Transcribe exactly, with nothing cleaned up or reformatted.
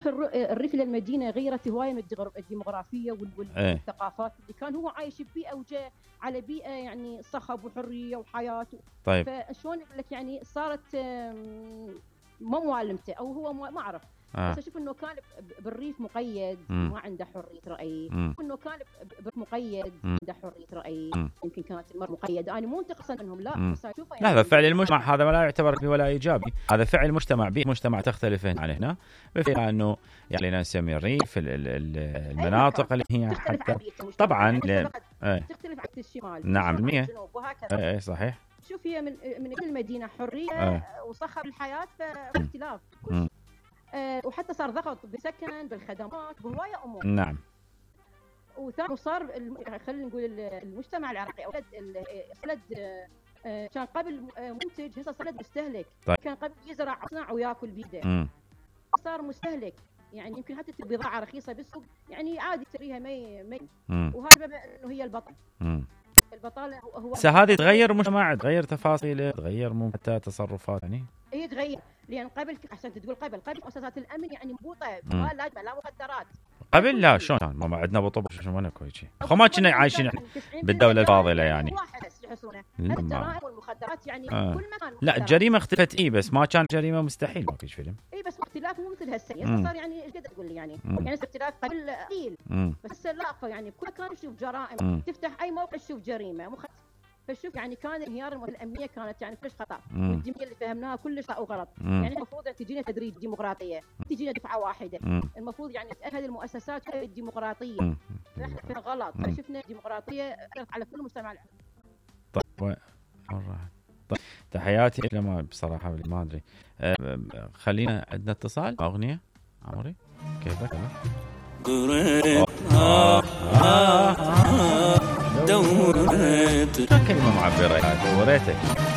الاخر الريف للمدينه غيرت هوايه من الديموغرافيه والثقافات اللي كان هو عايش ببيئه وجاء على بيئه يعني صخب وحريه وحياه. طيب فشلون اقول لك يعني صارت ما موالمته او هو ما اعرف. آه. بس اشوف انه كان بالريف مقيد مم. ما عنده حريه راي. مم. انه كان مقيد مم. عنده حريه راي. مم. يمكن كانت المراه مقيده. انا مو انتقصا منهم لا مم. بس اشوفه يعني هذا فعل المجتمع، هذا لا يعتبر ولا ايجابي، هذا فعل المجتمع. بيئه المجتمع تختلف عن هنا بفكره انه يعني نسمي الريف المناطق اللي هي حتى طبعا ل... تختلف عن الشمال نعم مية وهكذا. اي صحيح. شوف هي من من المدينه حريه أه. وصخب الحياه فاختلاف كل شيء. أه وحتى صار ضغط بالسكن بالخدمات بهوايه امور. نعم. وثاني صار خلينا نقول المجتمع العراقي اولاد ولد أه كان قبل منتج هسه صار مستهلك. طيب. كان قبل يزرع يصنع وياكل بيده. م. صار مستهلك يعني يمكن حتى بضاعه رخيصه بالسوق يعني عادي تشتريها مي مي وهذا سبب انه هي البطل. م. البطاله هو بس هذه تغير مجتمع، تغير تفاصيله، تغير مو حتى تصرفات يعني. هي تغير لان قبل عشان تقول قبل قبل مؤسسات الامن يعني مبوطه ما لا لا مخدرات. قبل لا شلون كان ما عندنا بطوبه شو ما نكو شيء. خو ما كنا عايشين بالدوله الفاضله يعني. الجرائم والمخدرات يعني آه. كل مكان. لا الجريمه اختلفت اي بس ما كان جريمه مستحيل ما فيش فيلم. اي بس اختلاف مو مثل هسه صار يعني ايش قد تقول لي يعني مم. يعني اختلاف قبل قليل بس لا يعني كل كان يشوف جرائم مم. تفتح اي موقع تشوف جريمه مخ... فشوف يعني كان انهيار الامنيه كانت يعني كلش خطا والديمقراطيه اللي فهمناها كلش خطا وغلط. مم. يعني المفروض تجينا تدريج ديمقراطيه تجينا دفعه واحده. مم. المفروض يعني هذه المؤسسات الديمقراطيه احنا غلط شفنا ديمقراطيه على كل مجتمع. طيب مرة طيب تحياتي لما بصراحة ما أدري. أه خلينا عندنا اتصال أغنية عمري كيفك أنا آه آه دورت كلمة معبرة دورتك